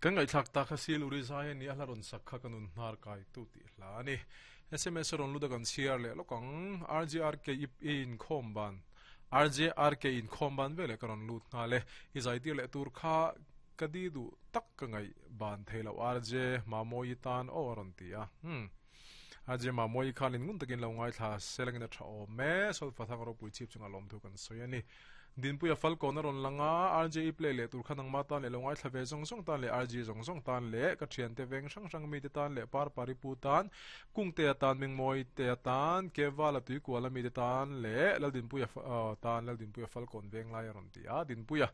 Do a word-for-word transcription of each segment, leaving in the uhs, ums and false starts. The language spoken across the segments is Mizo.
Kan ngai thlak ta kha sil uri zai ani a hla rawn sak kha ka nun hnar kai tu tih hla ani. S M S rawn lut a kan chhiar leh lawk ang. R J R K ip in khawm ban R J R K in khawm ban veleh ka rawn lut nghal e. I zai tir leh tur kha ka di duh tak ka ngaih ban thei lo R J Mamawi tan aw a rawn ti a. Hmm. R J Mamawi khan in ngun takin lo ngaithla selangin a tha awm e. Solfa thang ropui chhip chunga lawm thu kan sawi ani. Dinpuia Falcon a rawn lang a, R J E play leh tur kha nangma tan leh lo ngaithla ve zawng zawng tan leh R G zawng zawng tan leh ka thiante veng hrang hrang mite tan leh Parpari pu tan, Kungtea tan, Mingmawite tan, Kevala Tuikuala mite tan leh Laldinpuia tan, Laldinpuia Falcon veng lai a rawn ti a, Dinpuia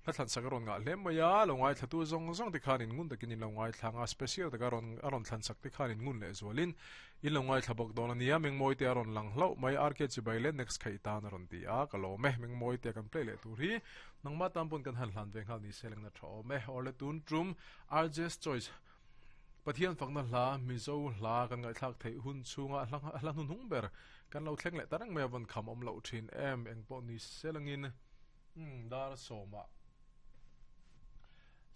hla thlansak a rawn ngah hle mai a, lo ngaithlatu zawng zawng te khan in ngun takin in lo ngaithla ang a, special taka a rawn a rawn thlansak te khan in ngun leh zualin in lo ngaithla bawk dawn a nia, Mengmawite a rawn lang hlauh mai, R K chibai leh next kha i tan a rawn ti a, ka lawm e, Mengmawite kan play leh tur hi nangmah tan pawn kan han hlan ve nghal ni se lengna tha awm e, awle tun tum R J's Choice Pathian fakna hla Mizo hla kan ngaihthlak theih hun chhunga hla hla hnuhnung ber kan lo thleng leh ta reng mai a vawn kham awm loh thin em, engpawh ni se langin umm dar sawmah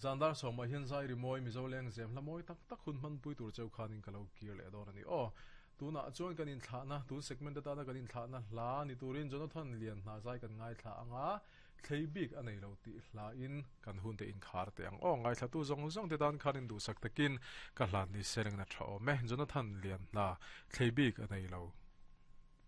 zan dar sawmah hian zai rimawi Mizo leng zem hla mawi tak tak hun hmanpui tur cheu khanin ka lo kir leh dawn a ni aw. Tunah chuan kan inthlahna, tun segment atana kan inthlahna hla ni turin Jonathan Lian hna zai kan ngaithla ang a, thlei bik a nei lo tih hlain kan hun te inkhar teh ang aw. Ngaithlatu zawng zawng te tan khan induhsak takin ka hlan ni se rengna tha awm e. Jonathan Lian hna thlei bik a nei lo.